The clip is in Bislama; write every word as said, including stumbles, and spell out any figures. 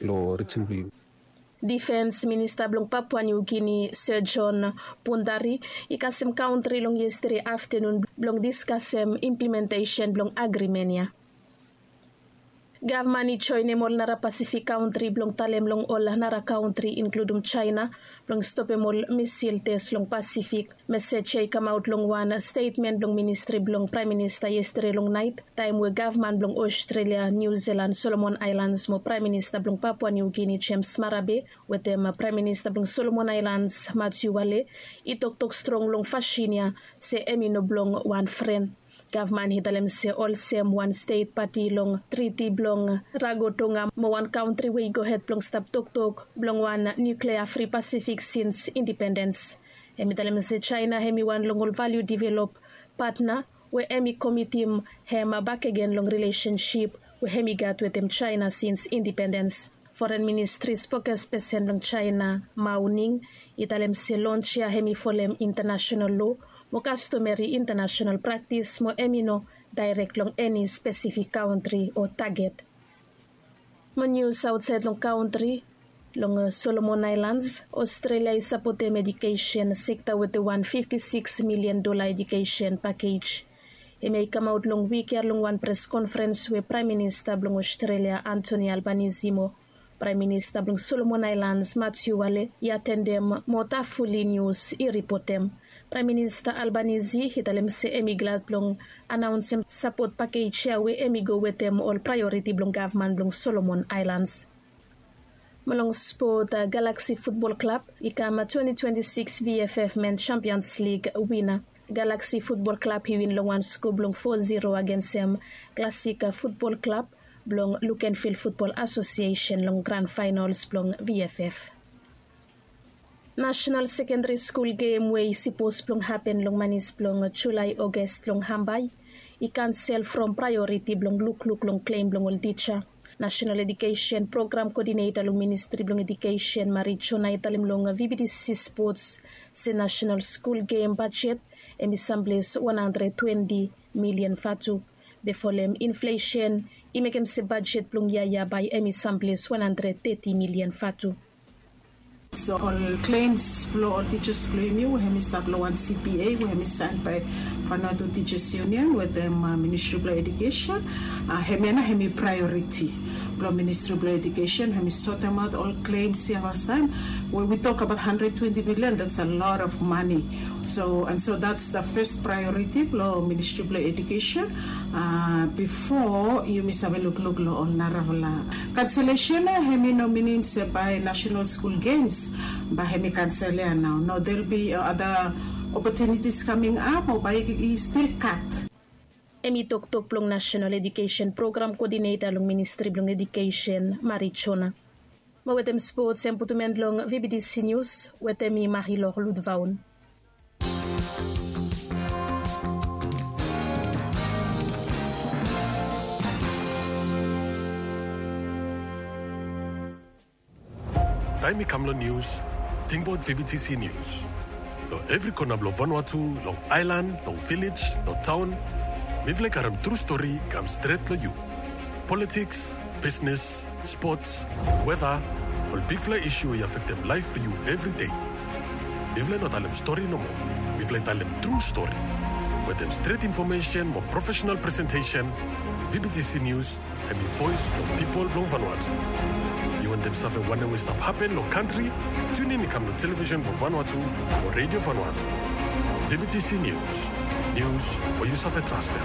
long rijin blong yu. Difens minista blong Papua New Guinea, Sir John Pundari, i kasem kauntri long yestade aftanun blong diskasem implementesen blong agrimen ya. Gavman i joenem ol nara Pasifik kauntri blong talem long ol nara kauntri, inkludum Jaena, blong stopem ol misil tes long Pasifik. Mesej ya i kamaot long wan stetmen blong ministri blong Praem Minista yestade long naet, taem we gavman blong Australia, New Zealand, Solomon Aelans mo Praem Minista blong Papua New Guinea, James Marape, wetem Praem Minista blong Solomon Aelans, Matthew Wale, i toktok strong long fasin ya se hemi no blong wan fren. Gavman i talem se olsem wan stet pati long triti blong Rarotonga mo wan kauntri we i gohed blong stap toktok blong wan nuklea fri Pasifik sins indipendens. Hemi talem se Jaena hemi wan long ol valiu develop patna we hemi komitim hem bakegen long rilesensip we hemi gat wetem Jaena sins indipendens. Foren Ministri spokespesen blong Jaena, Mao Ning, i talem se lons ya hemi folem intanasenal loa mo kastomeri intanasenal praktis mo hemi no daerek long eni spesifik kauntri o taget. Mo nius aotsaed long kauntri, long Solomon Aelans, Australia i sapotem ejukesen sekta wetem wan fifti sikis milian dola ejukesen pakej. Hemia i kamaot long wik ya long wan pres konferens we Praem Minista blong Australia, Anthony Albanese, mo Praem Minista blong Solomon Aelans, Matthew Wale, i atendem mo Tafuli Nius i ripotem. Praem Minista Albanese i talem se hemi glad blong anaonsem sapot pakej ya we hemi go wetem ol praeoriti blong gavman blong Solomon Aelans. Mo long spot, Galaxy Futbol Klab i kam twenti twenti sikis VFF Men Champions League wina. Galaxy Futbol Klab i win long wan sko blong fo ziro agensem Klasika Futbol Klab blong Lukenville Futbol Asosiesen long gran faenols blong VFF. Nasenal Sekendari Skul Gem we i sipos blong hapen long manis blong Julae, Oges long Hambai i kansel from praeoriti blong lukluk long klem blong ol tija. Nasenal Ejukesen Program Kodineta long Ministri blong Ejukesen, Mari Jona, i talem long VBTC Spots se Nasenal Skul Gem bajet hemi samples wan handred twenti milian vatu. Be folem inflesen i mekem se bajet blong yia ya bae hemi samples wan handred teti milian vatu. So ol klems blong ol tijas blong yumi we hemi stap long wan CBA we hemi saen bae Vanuatu Teachers Union wetem Ministri blong Ejukesen. Hemia nao hemi praeoriti blong Ministri blong Ejukesen, hemi sotemaot ol klems ya fastaem. We wi tok abaot handred twenti milian, that's a lot of money. So, and so that's the first priority blong Ministri blong Ejukesen, bifo yumi save lukluk long ol narafala kanselesen ya. Hemi no minim se bae Nasenal Skul Gems bae hemi kansel ya nao. No, there'll be other opportunities coming up o bae i stil gat. Hemi toktok blong Nasenal Ejukesen Program Kodineta long Ministri blong Ejukesen, Mari Jona. Mo wetem spots, hem putum en long VBTC Nius wetem mi, Marilor Ludvaun. Taem i kam long nius, tingbaot VBTC Nius. Long evri kona blong Vanuatu, long aelan, long vilej, long taon, mifala i karem tru stori i kam stret long yu. Politiks, bisnes, spots, weta, ol bigfala isu we i afektem laef blong yu evri dei. Mifala i no talem stori nomo. Mifala i talem tru stori. Wetem stret infomesen mo profesenal presentesen, VBTC Nius hemi voes blong pipol blong Vanuatu. Yu wantem save wanem we i stap hapen long kantri? Tiunin i kam long televisen blong Vanuatu o Redio Vanuatu. VBTC Nius. Nius we yu save trastem.